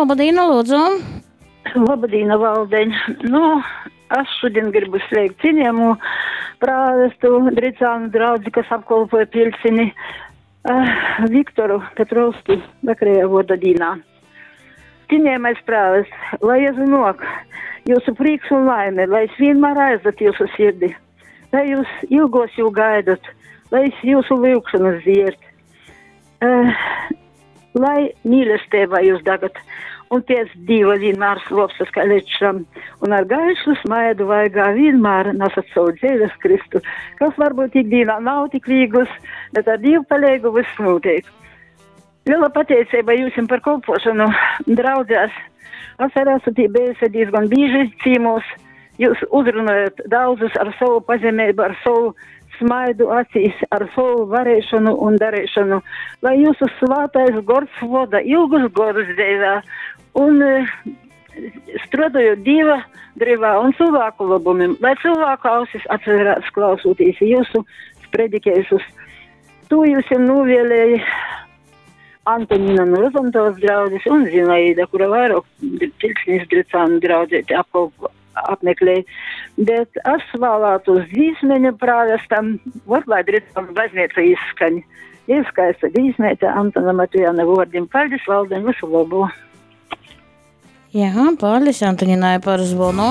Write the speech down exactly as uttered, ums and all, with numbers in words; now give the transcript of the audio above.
Labadīna, lūdzu. Labadīna, Valdeņ. Nu, es šodien gribu sveikt cienījamu prāvestu Dricānu draudzi, kas apkolpoja Piļcini, uh, Viktoru Petrovski vakarējā vārda dīnā. Cienījamais prāvests, lai Jēzu nok, jūsu prieks un laime, lai es vienmēr aizdat jūsu sirdi, lai jūs ilgos jū gaidat, lai es jūsu lūgšanas dzierd. Uh, lai mīlestībā jūs dagat, un pēc Dieva vienmēr slopstas kā lečam, un ar gaišu smaidu vaigā vienmēr nesat savu dzīves Kristu, kas varbūt ikdienā nav tik viegls, bet ar Dievu palīgu viss notiek. Liela pateicība jums par kalpošanu draudzēs. Es arī esmu tī bijusi diezgan bieži cīmos. Jūs uzrunājat daudzus ar savu pazemību, ar savu smaidu acīs, ar savu varēšanu un darīšanu, lai jūsu svētais gors voda ilgus godus dzīvē un eh, strādājot Dieva drivā un cilvēku labumim, lai cilvēku ausis atverās klausoties jūsu spredikēsus. To jūs jau novēlēja Antonina no Rozentāls draudzes un Zinaida, kura vairāk Piļcinis Dricānu draudzēti apkalpo, apmeklē. Bet es vēlētos dzīsmeņu prāvestam, vot lai Dricānu baznīca izskaņ. Ir skaista dzīsmēte Antona Matujana vārdim. Paldies, Valdeņ, visu labu! Jā, paldies Antoninai par zvonu.